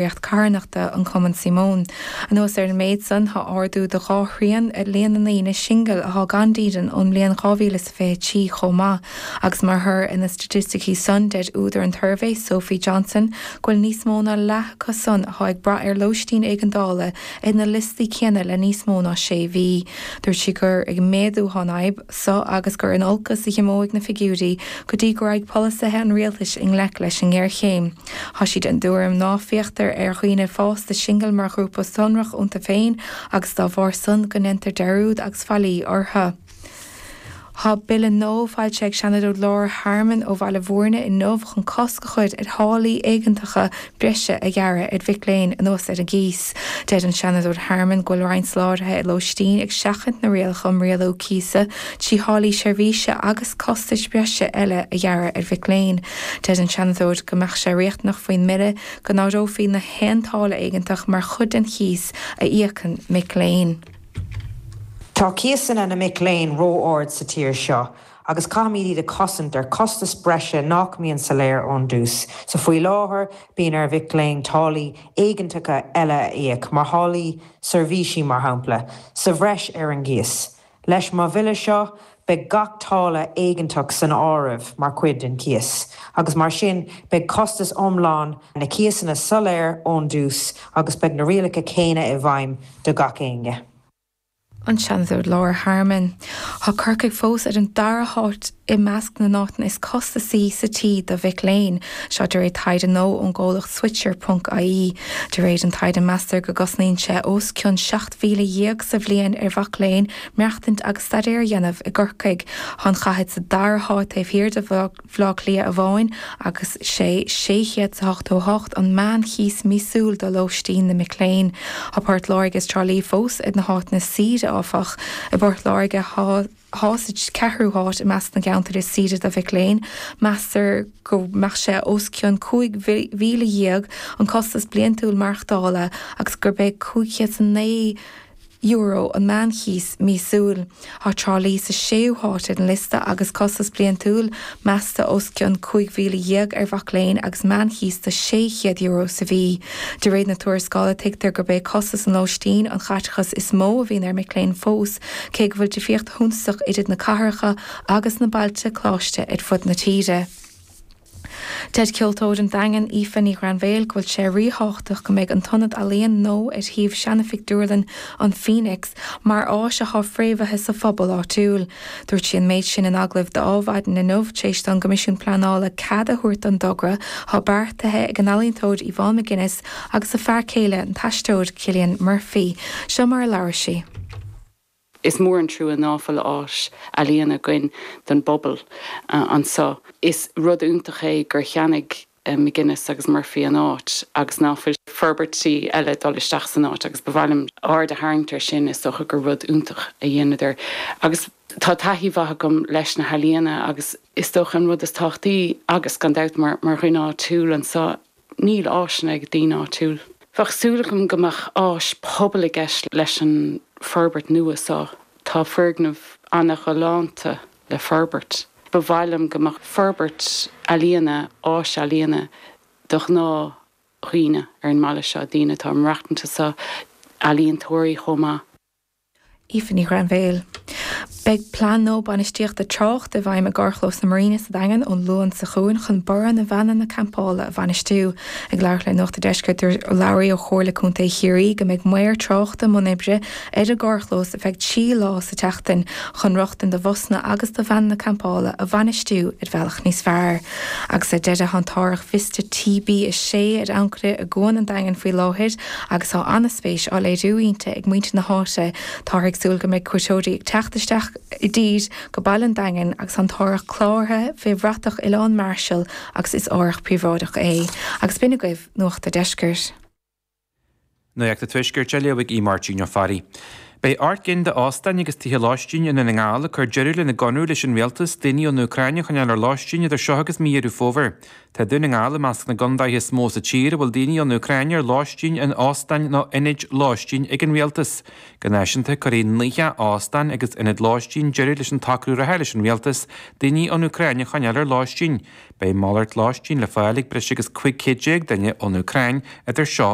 Eagraíocht carthanachta an Cumann Simone. Anuas ar an méid san, thá ardú de dha thrian i líon na ndaoine singil athá gan dídean ón mbliain 2023 chomh maith. Agus mar thoradh ar na staitisticí san, deir údar an tsuirbhé, Sophie Johnson, go bhfuil níos mó ná leath acu san athá ag brath ar lóistín éigeandála ar na liostaí céanna le níos mó ná sé mhí. Dúirt sí gur ag méadú athá an fhadhb so agus gur in olcas a dh'imeoidh na figiúirí go dtí go raghaidh polasaithe an rialtais i ngleic leis an ngéarchéim. Thá sí den dtuairim ná féachtar ar dhaoine fásta singil mar ghrúpa sonrach iontu féin agus dá bharr san go ndeintear dearúd agus faillí orthu. Thá bille nua foilsithe ag Seanadóir Laura Harmon ó Bhaile Bhúirne inniu chun cosc a chur ar tháillí éigeantacha breise a ghearradh ar mhic léinn anuas ar an gcíos. Deir an Seanadóir Harmon go bhfuil roinnt soláthraithe lóistín ag seachaint na rialacha um rialú cíosa trí tháillí seirbhíse agus costais bhreise eile a ghearradh ar mhic léinn. Deir an Seanadóir go mbeadh sé riachtanach faoin mbille go n-áireofaí na haon táille éigeantach mar chuid den chíos a íocann mic léinn. Tá cíosanna na mic léinn ró-ard sa tír seo agus caithfimid iad a chosaint ar chostas breise nach mbíonn soiléir ón dtús. So faoi láthair bíonn ar mhic léinn táillí éigeantacha eile a íoc, mar tháillí seirbhísí mar shampla, sa bhreis ar an gcíos. Leis mo bhille seo, beidh gach táille éigeantach san áireamh mar chuid den chíos, agus mar sin beidh costas iomlán na cíosanna soiléir ón dtús agus beidh na rialacha céanna i bhfeidhm do gach éinne. An Seanadóir Laura Harmon. Tá Corcaigh fós ar an dara háit i measc na n-áiteanna is costasaí sa tír do mhic léinn. Seo de réir taighde nua ón gcomhlacht Switcher ponc ie. De réir an taighde meastar go gcosnaíonn sé os cionn 17,000 sa bhliain ar mhac léinn maireachtaint agus staidéar a dhéanamh i gCorcaigh. Tá an chathair sa dara háit taobh thiar de Bhaile Átha Cliath amháin agus sé 688 an meán-chíos míosúil do lóistín na mic léinn. Tá Port Láirge is Trá Lí fós ar na háiteanna is saoire, áfach. I bPort Láirge tá sa cheathrú háit i measc na gceantar is saoire do mhic léinn. Meastar go mbeadh sé os cionn 15,000 an costas bliantúil maireachtála agus gurb é €509 an meánchíos míosúil. Tá Trá Lí sa séú háit ar an liosta agus costas bliantúil measta os cionn 15,000 ar mhac léinn agus meánchíos de €600 sa mhí. De réir na tuarascála tuigtear gurb é costas an lóistín an chaiteachas is mó a bhíonn ar mic léinn fós, cé go bhfuil difríocht shuntasach idir na cathracha agus na bailte coláiste ar fud na tíre. Deir ceoltóir an Daingin, Aoife Ní Ghrainbhéil, go bhfuil sé ríthábhachtach go mbeidh an t-ionad ealaíon nua ar shuíomh seana-phictiúrlann an Phoenix mar áis atá fréamhaithe sa phobal áitiúil. Dúirt sí an méid sin in agallamh d'Adhmhaidin inniu tar éis don gCoimisiún Pleanála cead a thabhairt don dtogra atá beartaithe ag an ealaíontóir Yvonne McGuinness agus a fear céile, an t-aisteoir Cillian Murphy. Seo mar a labhair sí. Is mór an trua ná fuil áis ealaíon againn don bpobal anso. Is rud iontach é gur cheannaigh McGuinness agus Murphy an áit agus ná fuil forbairtí eile ag dul isteach san áit agus ba mhaith liom aird a tharraingt ar sin, is dócha gur rud iontach a dheineadar. Agus tá taithí mhaith agam leis na healaíona agus is dócha an rud is tábhachtaí agus gan dabht mar dhuine áitiúil anso, Níl áiseanna ag daoine áitiúil. Bheadh súil agam go mbeadh áis pobail i gceist leis an forbairt nua seo. Tá foirgneamh ana-ghalánta le forbairt. Ba mhaith liom go mbeadh forbairt ealaíona, áis ealaíona do ghnáth dhaoine ar an mbaile seo, daoine atá ag maireachtaint anso, ealaíontóirí chomh maith. Aoife Ní Ghrainbhéil. Beidh plean nua bainistíochta tráchta i bhfeidhm i gcarrchlós na Marina sa Daingean ón Luan seo chugainn chun borradh na veaineanna campála a bhainistiú. Ag labhairt le Nuacht an Deiscirt dúirt urlabhraí ó Chomhairle Contae Chiarraí go mbeidh maor tráchta i mbun oibre ar an gcarrchlós ar feadh 3 lá sa tseachtain chun rochtain do bhusanna agus do veaineanna campála a bhainistiú ar bhealach níos fearr. Agus ar deireadh tá an t-árthach Vista TB6 ar ancaire i gCuan an Daingin faoi láthair agus tá an-spéis á léiriú inti ag muintir na háite. Táthar ag súil go mbeidh cuairteoirí ag teacht isteach i dtír go baile an Daingin agus tá an t-árthach cláraithe fé bhratach Oileán Marshall agus is árthach príobháideach é. Agus b'in agaibh Nuacht a' Deiscirt. Nuacht an Tuaiscirt á léamh ag Aodh Máirtín Ó Fearraigh. Beidh 8 gcinn d'óstáin agus tithe lóistín i nDún na nGall ag cur deireadh lena gconradh leis an Rialtas daoine ón Úcráin a choinneáil ar lóistín idir seo agus mí Dheireadh Fómhair. Tá Dún na nGall i measc na gcondaetha is mó sa tír a bhfuil daoine ón Úcráin ar lóistín in óstáin nó ionaid lóistín ag an Rialtas. Go náisiúnta, cuirfidh 90 óstán agus ionad lóistín deireadh leis an tsocrú reatha leis an Rialtas daoine ón Úcráin a choinneáil ar lóistín. Beidh malairt lóistín le fáil ag breis agus 15 céad duine ón Úcráin idir seo.